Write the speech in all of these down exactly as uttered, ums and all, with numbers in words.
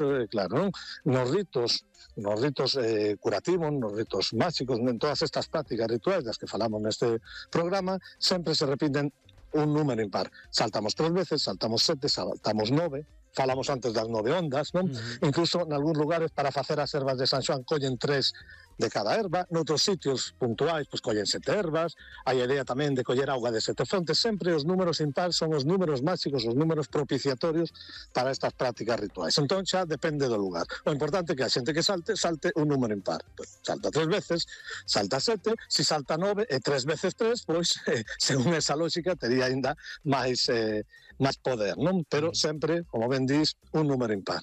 eh, claro, non? Nos ritos, nos ritos eh, curativos, nos ritos máxicos, en todas estas prácticas rituais das que falamos neste programa, sempre se repiten un número impar. Saltamos tres veces, saltamos sete, saltamos nove, falamos antes das nove ondas, non? Uh-huh. Incluso en algúns lugares para facer as ervas de San Xoán collen tres de cada erva, noutros sitios puntuais pois collen sete ervas, hai a idea tamén de coller auga de sete fontes, sempre os números impar son os números máxicos, os números propiciatorios para estas prácticas rituais. Entón xa depende do lugar. O importante é que a xente que salte, salte un número impar. Pues, salta tres veces, salta sete, se si salta nove e tres veces tres, pois, eh, según esa lógica, tería ainda máis, eh, máis poder, non? Pero sempre, como ben dis, un número impar.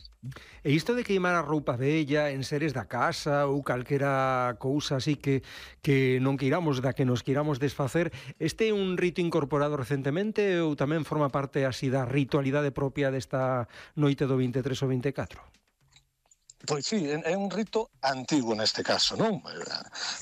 E isto de queimar a roupa vella en seres da casa ou calquera cousa así que, que non queiramos, da que nos queiramos desfacer, este é un rito incorporado recentemente ou tamén forma parte así da ritualidade propia desta noite do vinte e tres ao vinte e catro? Pois sí, é un rito antigo neste caso, non?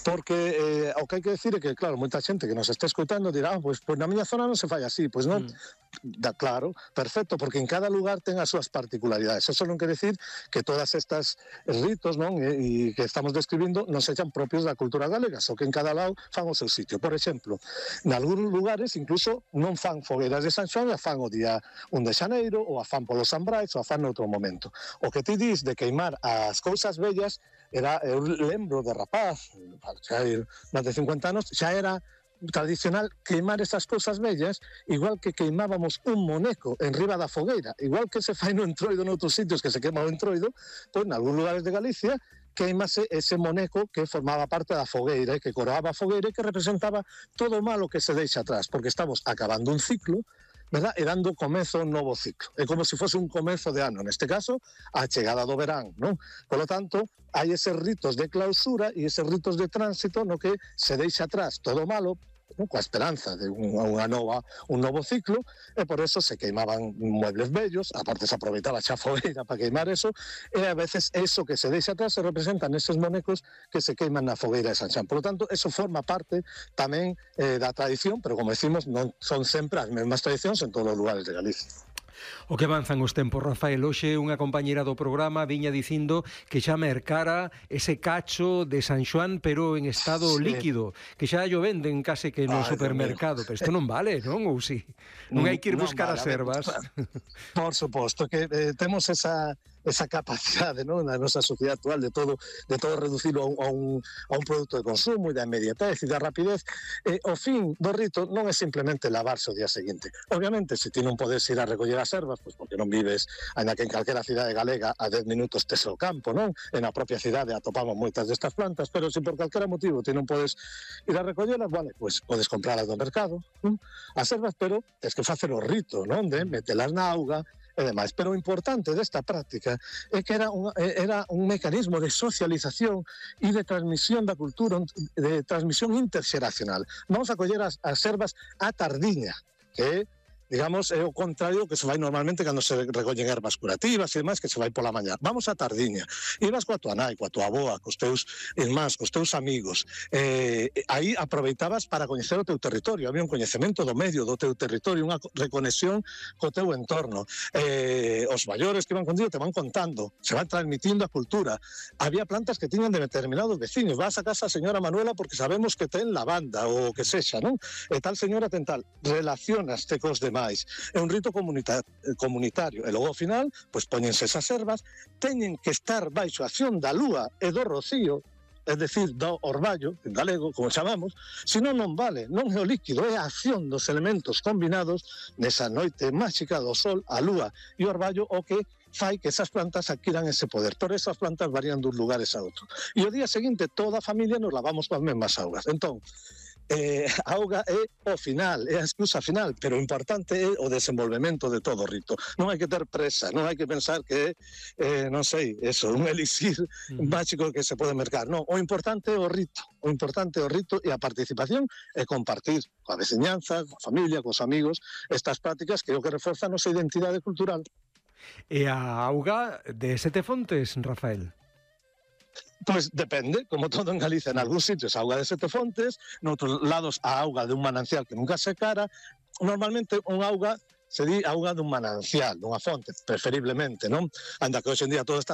Porque eh, o que hai que decir é que, claro, moita xente que nos está escoitando dirá, ah, pois, pois na miña zona non se fai así, pois non... Mm. Da, claro, perfecto, porque en cada lugar ten as súas particularidades. Eso non quere decir que todas estas ritos, non, e, e que estamos describindo non sexan propios da cultura galega, só que en cada lado fan o seu sitio. Por exemplo, en algúns lugares incluso non fan fogueiras de San Xoán, a fan o día un de xaneiro, ou a fan polo San Brais, ou a fan noutro momento. O que ti dis de queimar as cousas vellas, era, eu lembro de rapaz, xa hai máis de cincuenta anos, xa era tradicional queimar esas cousas vellas, igual que queimábamos un moneco en riba da fogueira, igual que se fai no entroido noutros sitios que se queima o entroido, pois en algúns lugares de Galicia queimase ese moneco que formaba parte da fogueira e que coroaba a fogueira e que representaba todo o malo que se deixa atrás, porque estamos acabando un ciclo, verdad? E dando comezo a un novo ciclo. É como se fose un comezo de ano, neste caso, a chegada do verán, non? Por lo tanto, hai eses ritos de clausura e eses ritos de tránsito no que se deixa atrás todo o malo, non? Coa esperanza de unha nova, un novo ciclo, e por eso se queimaban muebles bellos, aparte se aproveitaba xa fogueira para queimar eso, e a veces eso que se deixa atrás se representan eses monecos que se queiman na fogueira de San Xoán. Por lo tanto, eso forma parte tamén eh, da tradición, pero como decimos, non son sempre as mesmas tradicións en todos os lugares de Galicia. O que avanzan os tempos, Rafael. Hoxe unha compañera do programa viña dicindo que xa mercara ese cacho de San Xoán, pero en estado sí. líquido, que xa llo venden case que no Ay, supermercado, pero isto non vale, non? Ou si? Non hai que ir buscar vale, as ervas. Por suposto que eh, temos esa esa capacidade, non, na nosa sociedade actual de todo de todo reducirlo a un, a un, a un produto de consumo e da inmediatez e da rapidez. Eh, o fin do rito non é simplemente lavarse o día seguinte. Obviamente, se ti non podes ir a recoller as ervas, pois porque non vives, ainda que en calquera cidade galega a dez minutos tes o campo, non? En a propia cidade atopamos moitas destas plantas, pero se por calquera motivo ti non podes ir a recollelas, vale, pois podes comprarlas do mercado, non? As ervas, pero tens que facer o rito, non? De metelas na auga e demais. Pero o importante desta práctica é que era un, era un mecanismo de socialización e de transmisión da cultura, de transmisión interxeracional. Vamos a coller as, as ervas a tardiña, que é, digamos, é o contrario que se vai normalmente cando se recollen ervas curativas e demais, que se vai pola mañá. Vamos a tardiña. Ibas coa tua nai, coa tua avoa, cos teus irmáns, cos teus amigos. Eh, aí aproveitabas para coñecer o teu territorio. Había un coñecemento do medio do teu territorio, unha reconexión co teu entorno. Eh, os maiores que iban contigo te van contando, se van transmitindo a cultura. Había plantas que tiñan de determinados veciños. Vas a casa a señora Manuela porque sabemos que ten lavanda ou que sexa, non? E tal señora ten tal. Relacionaste cos demais. É un rito comunita comunitario. E logo ao final, pois poñense esas ervas, teñen que estar baixo a acción da lúa e do rocío, é dicir, do orballo, en galego, como chamamos, senón non vale, non é o líquido, é a acción dos elementos combinados nesa noite máxica do sol, a lúa e o orballo o que fai que esas plantas adquiran ese poder. Por esas plantas varían dun lugares a outro. E o día seguinte toda a familia nos lavamos coas mesmas augas. Entón, Eh, a auga é o final, é a excusa final, pero o importante é o desenvolvemento de todo o rito. Non hai que ter presa, non hai que pensar que é, eh, non sei, eso, un elixir uh-huh. máxico que se pode mercar. Non, o importante é o rito, o importante é o rito e a participación é compartir coa veciñanza, coa familia, cos amigos, estas prácticas que é o que reforza a nosa identidade cultural. E a auga de Sete Fontes, Rafael? Pois depende, como todo en Galicia, en algúns sitios a auga de Sete Fontes, noutros lados a auga de un manancial que nunca se cara. Normalmente unha auga se di auga dun manancial, dunha fonte, preferiblemente, non? Anda que hoxe en día todo está